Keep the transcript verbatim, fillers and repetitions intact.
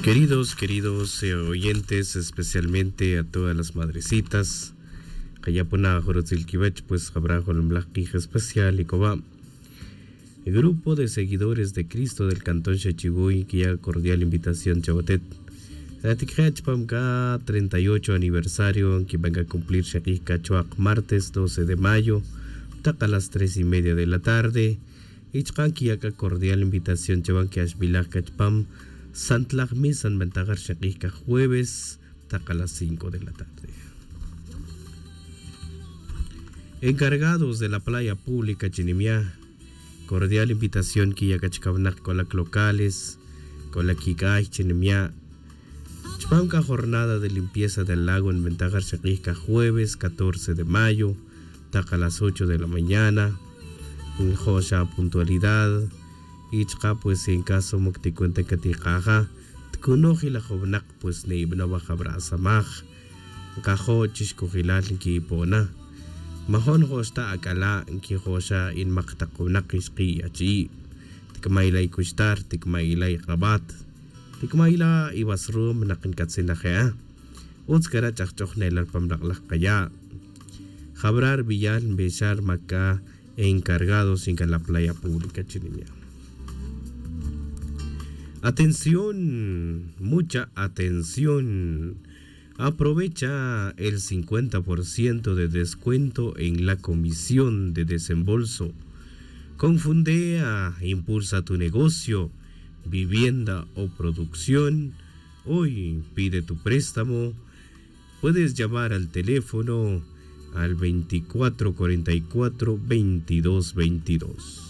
Queridos, queridos eh, oyentes, especialmente a todas las madrecitas, kaya puna jorotzil kiwech pues jabra jolomlaj q'ij especial y koba. Grupo de seguidores de Cristo del cantón Xachivuy kiya cordial invitación chawatet. Atikje chpam ka treinta y ocho aniversario kiban ka cumplir xaq'ij ka chwaq martes doce de mayo, taq a las tres y media de la tarde. Y chqan kiya ka cordial invitación chawan kiaxbilaj ka chpam santlaj misa nbentajar xaq'ij ka jueves, taq a las cinco de la tarde. Encargados de la playa pública chinimia, cordial invitación kiya ka chkawnak kolak locales, kolak kik'ay chinimia. Chpam ka jornada de limpieza del lago nbentajar xaq'ij ka jueves catorce de mayo, taq a las ocho de la mañana. Njo'xa puntualidad. Y chqa pues en caso mok ti cuenta ka ti q'aja, tkunoj ilajownak pues nibanow ajabrasamaj. Nkajo' chixkojilal nkipona. Majo' njo'xta ak'ala' nkijo'xa inmak taq wnak ixqi' achi'i'. Tikma'ila' ikuxtar, tikma'ila' iq'abat, tikma'ila' iwasrum naq nkatzinaj e'a. Utz kara' ch'ajch'oj ne'lal pam lak'laj qaya'. Jabra' rbiyal nbixal maka encargados inka la playa pública chinimia. Atención, mucha atención. Aprovecha el cincuenta por ciento de descuento en la comisión de desembolso. Confundea, impulsa tu negocio, vivienda o producción. Hoy pide tu préstamo. Puedes llamar al teléfono al veinticuatro cuarenta y cuatro veintidós veintidós.